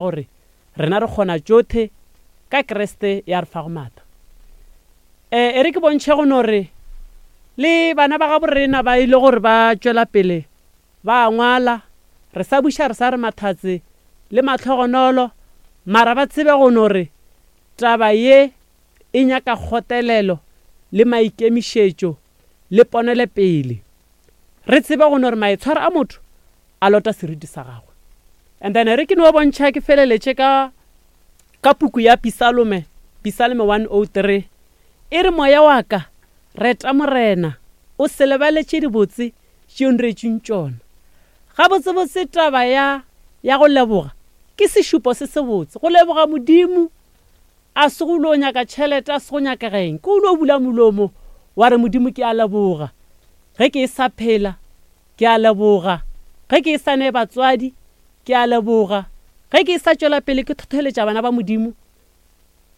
Gore rena re kgona tšothe ka Kriste ya re fago maatla. E, e re ke bontšhe go no re le bana ba gabo rena ba ile gore ba tšwela pele ba ngwala, re sa buša re sa re mathatse le mahlogonolo, mara ba tsebe go no re taba ye e nyaka kgotelelo le maikemišetšo le ponelepele. Re tsebe go no re maitshwaro a motho a lota seriti sa gagwe. And then re ke no bontšha ke feleletše ka ka puku ya Pisalome, Pisalome 103. E re moya wa ka, reta Morena, o se lebale tše dibotse tše o nretšeng tšona. Gabotsebotse taba ya ya go leboga ke sešupo se sebotse. Go leboga Modimo a se go lo nyaka tšhelete, a se go nyakega eng, ke o no bula molomo wa re Modimo ke a leboga ge ke e sa phela, ke a leboga ge ke e sa ne batswadi, ke a leboga ge ke e sa tšwela pele ke thotholetša bana ba Modimo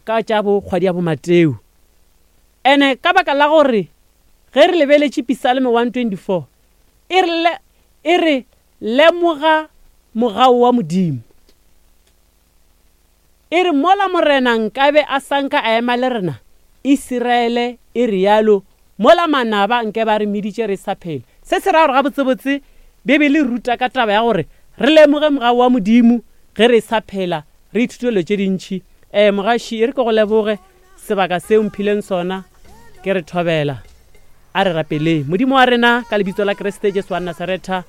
ka tša bo kgwadi ya bo Mateo. Ene ka baka la gore ge re lebeletše Pisalme 124 e re, e re lemoga mogau wa Modimo. E re, Mola Morena nkabe a sa nka a ema le rena, Isiraele e realo, mola manaba nke ba re meditše re sa phela. Se se ra gore gabotsebotse Bibele e ruta ka taba ya gore re lemoge mogau wa Modimo ge re sa phela, re ithute dilo tše dintši. Ee, mogaši, e re ke go leboge sebaka se o mphileng sona. Ke re thobela. A re rapeleng. Modimo wa rena, ka lebitso la Kriste Jesu wa Nasaretha,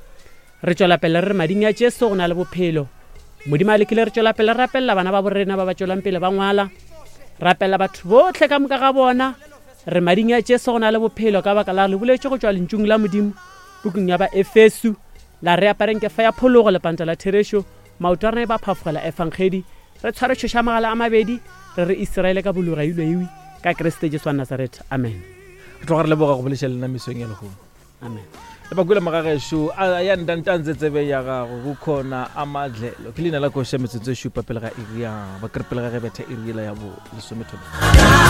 Re tšwela pele re re mading a Jesu go na le bophelo. Modimo a lekile re tšwela pele re rapelela bana ba borena ba ba tšwelang pele ba ngwala. Rapelela batho bohle ka moka ga bona. Re mading a Jesu go na le bophelo ka baka la le boletše go tšwa lentšung la Modimo pukung ya Baefesu la re apareng kefa ya phologo lepanta la therešo maoto a rena e ba phafogela efangedi re tshware tšhoša magala a mabedi re re Iseraele ka bologa ilweiwi ka Kriste Jesu wa Nazaretha. Amen. Re tloga re leboga go boleša lena mesong ya lehono. Amen. Le bakwele magagešo a ya ntantantse tsebe ya gago go khona a madlelo ke leina la koša metsotso e šupa pele ga iri ya ba kere pele ga ge betha iri yela ya bo lesomethobe.